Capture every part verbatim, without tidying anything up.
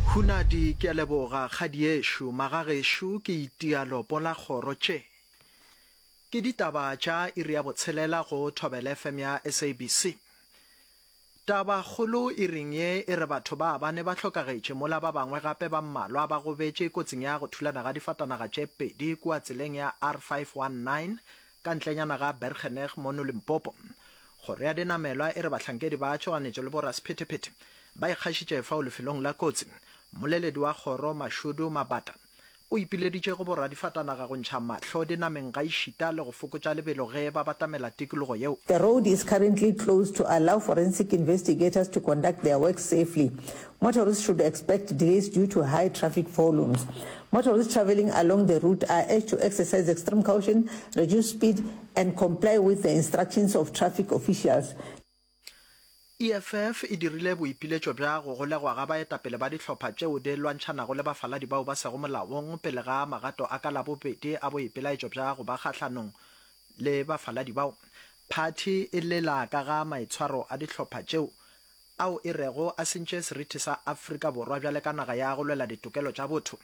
Hunadi, Ke a leboga, kgadiešo. Magagešo, ke itia lopo la kgoro tše. Ke ditaba tša iri ya botshelela go Thobela F M ya S A B C. Tabakgolo iring ye e re batho ba bane ba hlokagetše mola ba bangwe gape ba mmalwa ba gobetše kotsing ya go thulana ga difatanaga tše pedi kua tseleng ya R five one nine ka ntlenyana ga Bergeneg mono Limpopo. Kgoro ya dinamelwa e re bahlankedi ba tšhoganetšo le borasephethephethe ba ikgašitše fao lefelong la kotsi. Mmoleledi wa kgoro Mashudu Mabata o ipileditše go boradifatanaga go ntšha mahlo dinameng gaešita le go fokotša lebelo ge ba batamela tikologo yeo. The road is currently closed to allow forensic investigators to conduct their work safely. Motorists should expect delays due to high traffic volumes. Motorists traveling along the route are urged to exercise extreme caution, reduce speed, and comply with the instructions of traffic officials. E F F e dirile boipiletšo bja go golegwa ga baetapele ba dihlopha tšeo di lwantšhanago le bafaladi bao ba sego molaong pele ga magato a ka Labobedi a boipelaetšo bja go ba kgahlanong le bafaladi bao. Phathi e lela ka ga maitshwaro a dihlopha tšeo ao e rego a sentše seriti sa Afrika Borwa bjale ka naga ya go lwela ditokelo tša botho.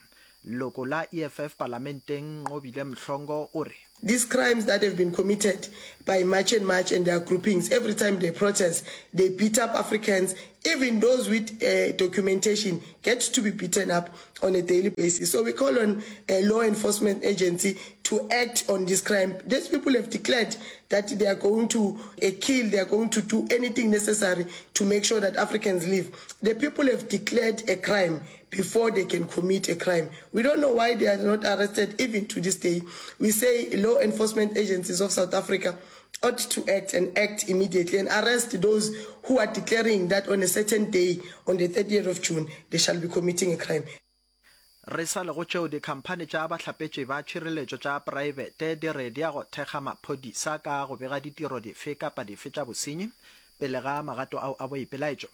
Leloko la E F F palamenteng Nqobile Mhlongo o re. These crimes that have been committed by March and March and their groupings, every time they protest, they beat up Africans, even those with uh, documentation get to be beaten up on a daily basis. So we call on a law enforcement agency to act on this crime. These people have declared that they are going to uh, kill, they are going to do anything necessary to make sure that Africans live. The people have declared a crime before they can commit a crime. We don't know why they are not arrested even to this day. We say law enforcement agencies of South Africa ought to act and act immediately and arrest those who are declaring that on a certain day, on the thirtieth of June, they shall be committing a crime. Re sa le go tšeo, dikhamphani tša bahlapetši ba tšhireletšo tša praebete di re di ya go thekga maphodisa ka go bega ditiro dife kapa dife tša bosenyi pele ga magato ao a boipelaetšo.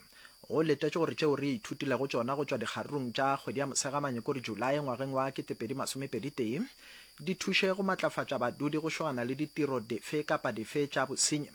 Go letetšwe gore tšeo re ithutilego tšona go tšwa dikgarurung tša kgwedi ya Mosegamanye kore Julae ngwageng wa ketepedi masomepedi tee di thuše go matlafatša badudi go šogana le ditiro dife kapa dife tša bosenyi.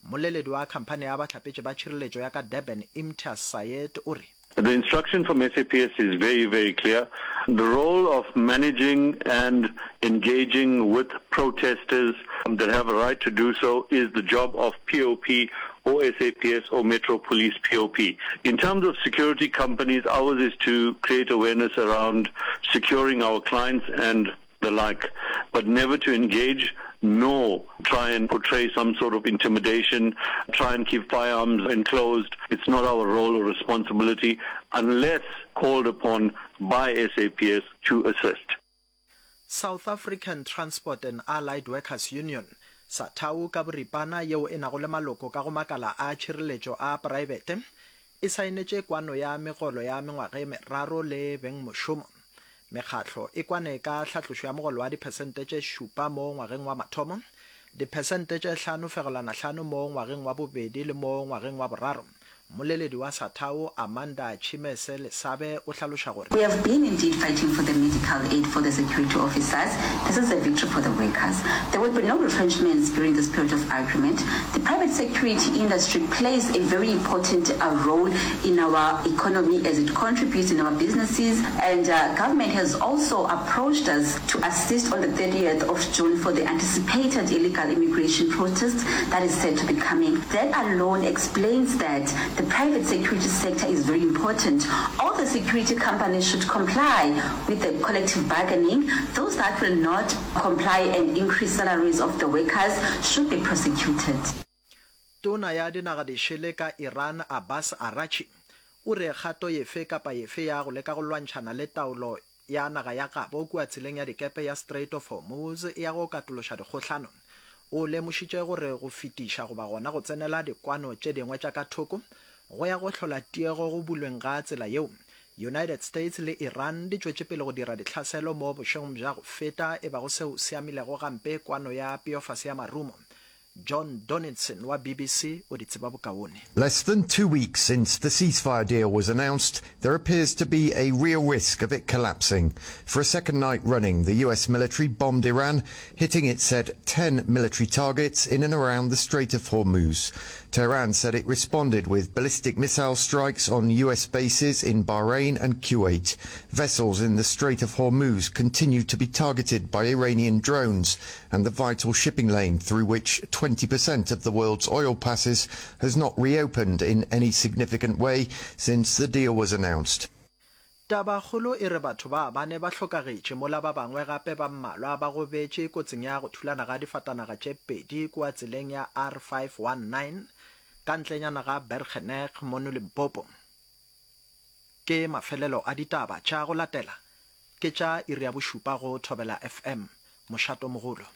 Mmoleledi wa khamphani ya bahlapetši ba tšhireletšo ya ka Durban, Imtiaz Sayed, o re. The instruction from S A P S is very, very clear. The role of managing and engaging with protesters that have a right to do so is the job of P O P or S A P S or Metro Police P O P. In terms of security companies, ours is to create awareness around securing our clients and the like, but never to engage nor try and portray some sort of intimidation, try and keep firearms enclosed. It's not our role or responsibility unless called upon by S A P S to assist. South African Transport and Allied Workers Union, SATAWU ka boripana, yeo e nago le maloko ka go makala a tšhireletšo a praebete, e saenetše kwano ya megolo ya mengwaga e meraro le bengmošomo. Mekgatlo e kwane ka hlatlošo ya mogolo wa diphesente tše šupa mo ngwageng wa mathomo, diphesente tše hlano fegelwana hlano mo ngwageng wa bobedi le mo ngwageng wa boraro. Mmoleledi wa SATAWU Amanda Tshimese Lesabe o hlaloša gore. We have been indeed fighting for the medical aid for the security officers. This is a victory for the workers. There will be no retrenchments during this period of agreement. The private security industry plays a very important uh, role in our economy as it contributes in our businesses, and uh, government has also approached us to assist on the thirtieth of June for the anticipated illegal immigration protest that is said to be coming. That alone explains that the private security sector is very important. All the security companies should comply with the collective bargaining. Those that will not comply and increase salaries of the workers should be prosecuted. Tona ya dinaga dišele ka Iran Abbas Araghchi o re kgato efe kapa efe ya go leka go lwantšhana le taolo ya naga ya gabo kua tseleng ya dikepe ya Strait of Hormuz e ya go katološa dikgohlano. O lemošitše gore go fetiša goba gona go tsenela dikwano tše dingwe tša ka thoko go ya go hlola tiego go bulweng ga tsela yeo. United States le Iran di tšwetše pele go dira ditlhaselo mo bošegong bja go feta e bago seo se amilego gampe kwano ya peofase ya marumo. John Donaldson wa B B C o di tseba bokaone. Less than two weeks since the ceasefire deal was announced, there appears to be a real risk of it collapsing. For a second night running, the U S military bombed Iran, hitting, it said, ten military targets in and around the Strait of Hormuz. Tehran said it responded with ballistic missile strikes on U S bases in Bahrain and Kuwait. Vessels in the Strait of Hormuz continue to be targeted by Iranian drones, and the vital shipping lane through which twenty percent of the world's oil passes has not reopened in any significant way since the deal was announced. Tabakgolo e re batho ba bane ba hlokagetše mola ba bangwe gape ba mmalwa ba gobetše kotsing ya go thulana ga difatanaga tše pedi kua tseleng ya R five one nine ka ntlenyana ga Bergenek mono Limpopo. Ke mafelelo a ditaba tša go latela ke tša iri ya bošupa go Thobela F M, mošatomogolo.